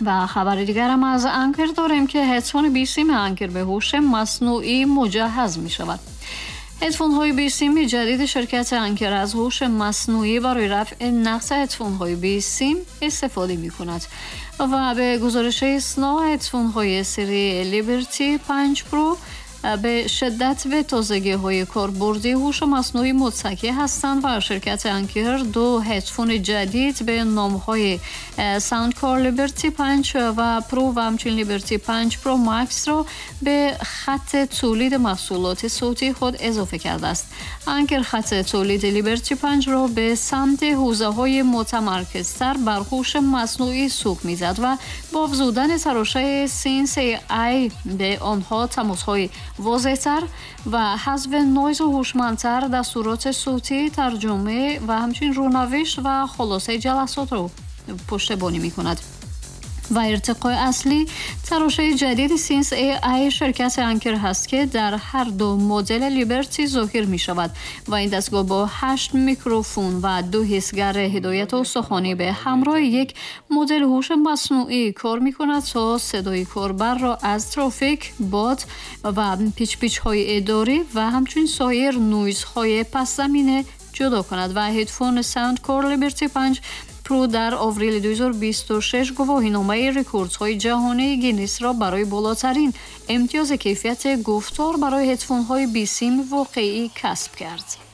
و خبر دیگر هم از Anker داریم که هدفون بیسیم Anker به هوش مصنوعی مجهز می شود. هدفون های بیسیم جدید شرکت Anker از هوش مصنوعی برای رفع نقص هدفون های بیسیم استفاده می کند و به گزارش ایسنا، هدفون های سری Liberty 5 Pro به شدت به تازگی های کاربردی هوش مصنوعی متکی هستند و شرکت Anker دو هدفون جدید به نام های Soundcore Liberty 5 و Pro و همچنین Liberty 5 Pro Max را به خط تولید محصولات صوتی خود اضافه کرده است. Anker خط تولید Liberty 5 را به سمت حوزه های متمرکزتر بر هوش مصنوعی سوق میزد و با افزودن تراشه Sense AI به آنها، تماس های واضحتر و حذف نویز هوشمندتر، دستورات صوتی، ترجمه و همچنین رونوشت و خلاصه جلسات رو پشتیبانی می کند. و ارتقای اصلی تراشه جدید Sense AI شرکت Anker هست که در هر دو مدل Liberty ظاهر می شود و این دستگاه با 8 میکروفون و دو حسگر هدایت استخوانی به همراه یک مدل هوش مصنوعی کار می کند تا صدای کاربر را از ترافیک، باد و پیچ پیچ های اداری و همچنین سایر نویز های پس زمینه جدا کند. و هدفون Soundcore Liberty 5 Pro در آوریل 2026 گواهینامه رکوردهای جهانی گینس را برای بالاترین امتیاز کیفیت گفتار برای هدفون‌های بیسیم واقعی کسب کرد.